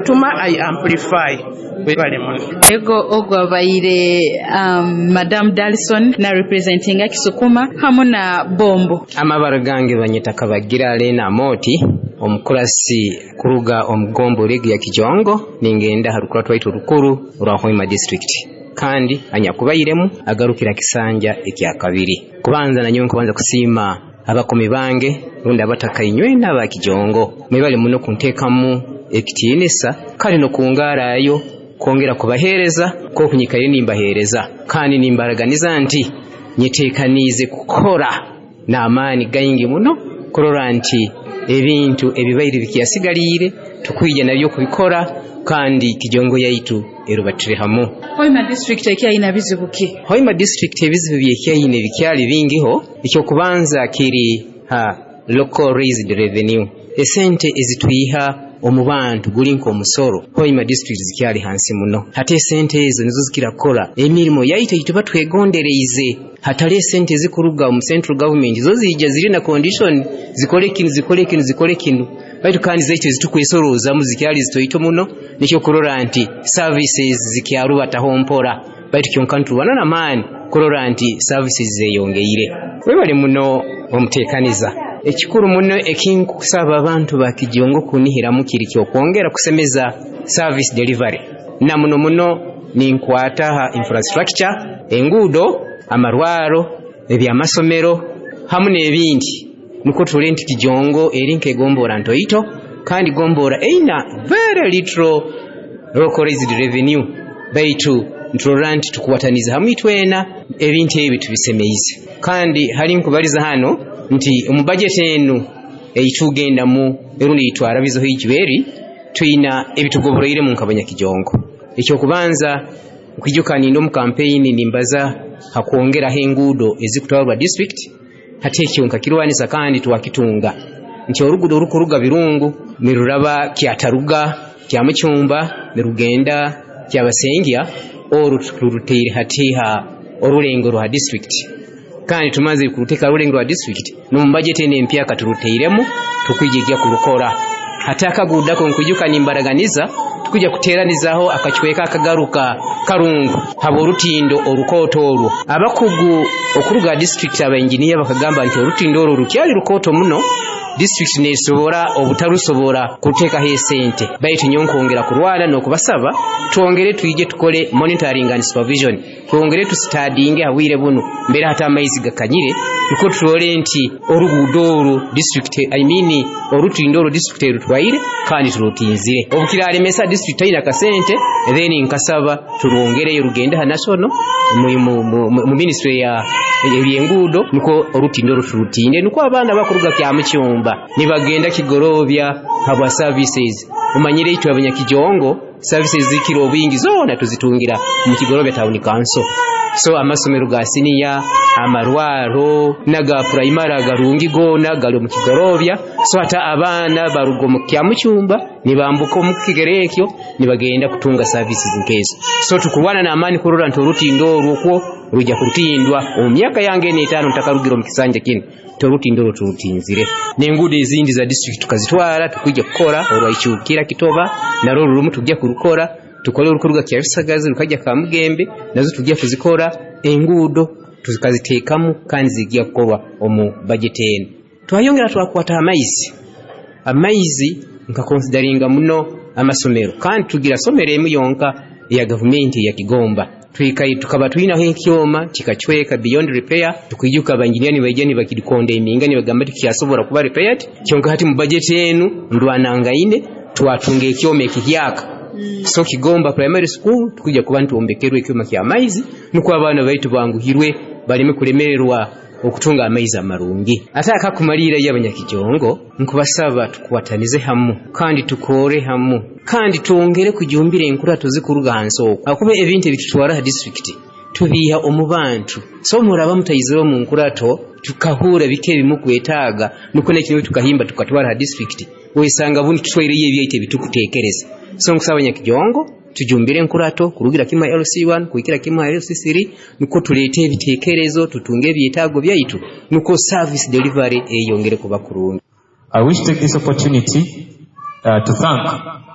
Tuma I amplify. Webale muno. Ego, ogwo abaire Madam Dalson na representinga Kisukuma hamu na Bombo. Amabara gange banyeta Kabagira Lena Amoti, omukurasi kuruga omu gombora egi ya Kijongo, ningenda ha rukurato rwaitu orukuru orwa Hoima District, kandi anyakubairemu agarukira kisanja ekyakabiri. Kubanza nanyowe nkubanza kusiima abakomi bange rundi abataka inywena aba Kijongo, mwebale muno kunteekamu ekitiinisa kandi n'okungarayo kwongera kubaheereza nk'oku nyikaire nimbaheereza, kandi nimbaraganiza nti nyeteekaniize kukora n'amaani gaingi muno kurora nti ebintu ebibaire bikyasigaliire tukwija nabyo kubikora kandi Kijongo yaitu erubatire hamu. Hoima District ekyayina bizibu ki? Hoima District ebizibu byekyayina bikyali bingiho. Ekyokubanza kiri ha local raised revenue, esente ezitwiha omu bantu guli nk'omusoro. Hoima District zikyali hansi muno. Hati esente ezo nizo zikira kukora emirimo yaitu eituba twegondereize. Hatali esente ezikuruga omu central government, zo ziija ziri na condition, zikole kinu, zikole kinu, zikole kinu, baitu kandi zaitu ezitukwesorozamu zikyali zitoito muno. Nikyo kurora nti services zikyarubataho mpora, baitu kyonka nitubona n'amaani kurora nti services zeyongeire. Webale muno omuteekaniza. Ekikuru muno ekinkusaba abantu ba Kijongo kunihiramu kiri kyokwongera kusemeza service delivery, na muno muno ninkwata ha infrastructure, enguudo, amarwaro, ebyamasomero hamu n'ebindi, nukwo turole nti Kijongo eri nk'egombora ntoito, kandi gombora eina very little localized revenue, baitu nturora nti tukwataniza hamwe itwena ebintu ebi tubisemeize. Kandi hali nkubaliza hano nti omu budget enu eitugendamu erundi eitwarabizeho ijweri, twina ebitugoboroiremu nk'abanyakijongo. Ekyokubanza, nkwijuka ninde omu kampeyini nimbaza hakwongeraho enguudo ezikutwarwa district. Hati ekyo nkakirwanisa kandi twakitunga nti oruguudo orukuruga Birungu niruraba Kyataruga, Kyamucumba, nirugenda Kyabasengya, oru turuteire hati ha orulengo rwa district, kandi tumaze kuruteka rulengo rwa district n'omu budget eno empyaka turuteiremu tukwijja kurukora. Hati akagudako nkwijuka nimbaraganiza tukujja kuteranizaho akacweka akagaruka Karungu haba orutindo orukooto orwo. Abakugu okuruga district, abainjiniya, bakagamba nti orutindo orwo rukyali rukooto muno, district nesobora obutarusobora kuteekaho esente, baitu nyowe nkwongera kurwana n'okubasaba twongere twije tukole monitoring and supervision, twongere tustudyinge habwire buno mbere hata amaizi gakanyire, nukwo turole nti oruguudo orwo district, I mean orutindo orwo district erutwaire kandi turutinzire. Obukiralemesa district taina kasente, then nkasaba turwongereyo rugende ha national mu ministry ya ebyenguudo, nukwo orutindo orwo turutinde, nukwo abaana bakuruga Kyamucyumba nibagenda Kigorobya habwa services. Umanyire itwe abanyakijongo services zikira obwingi zoona tuzitungira mu Kigorobya Town Council. So amasomero ga siniya, amarwaro n'aga primary agarungi goona gali omu Kigorobya. So hata abaana baruga omu Kyamucyumba nibambuka omu kigere ekyo nibagenda kutunga services nkezo. So tukurwana n'amaani kurora nti orutindo orwo kwo rujja kurutindwa omu myaka yange eno 5 ntakarugira omu kisanja kinu, torutindo orwo turutinzire. N'enguudo ezindi za district tukazitwara, tukwija kukora orwaikyukira Kitoba, narwo rurumu tujja kurukora, tukole orukuruga Kyabisagazi rukajja Kamugembe, nazo tujja kuzikora. Enguudo tukaziteekamu kandi zijja kukorwa omu budget eno. Twayongera twakwata amaizi. Amaizi nkakonsidaringa muno amasomero, kandi tugira somero emu yonka eya gavumenti ya Kigomba. Twikaye tukaba twinaho ekyoma kikacweka beyond repair. Tukwijuka abanjiniya nibaija nibakikonda eminga nibagamba tikyasobora kuba repaired. Kyonka hati mu budget enu ndwanangaine twatunga ekyoma ekihyaka. So Kigomba Primary School tukujja kuba nitwombekerwa ekyoma ky'amaizi, nukwo abaana baitu banguhirwe baleme kulemererwa okutunga amaizi amarungi. Ate akakumalira yo abanyakijongo nkubasaba tukwatanize hamu kandi tukore hamu kandi twongere kujumbira enkurato zikuruga hansi okwo, akuba ebintu ebitutwara ha district tubiiha omu bantu. So muraba mutaizire omu nkurato tukahura bike ebimukwetaaga, nukwo nekino tukahimba tukatwara ha district, wesanga bundi tutwaireyo ebyaitu ebitukuteekereza. So nkusaba abanyakijongo tujumbire enkurato kurugira kimwe LC1 kuhikira kimwe LC3, nukwo tuleete ebiteekerezo tutunge ebyetaago byaitu, nukwo service delivery eyongere kuba kurungi. I wish to take this opportunity to thank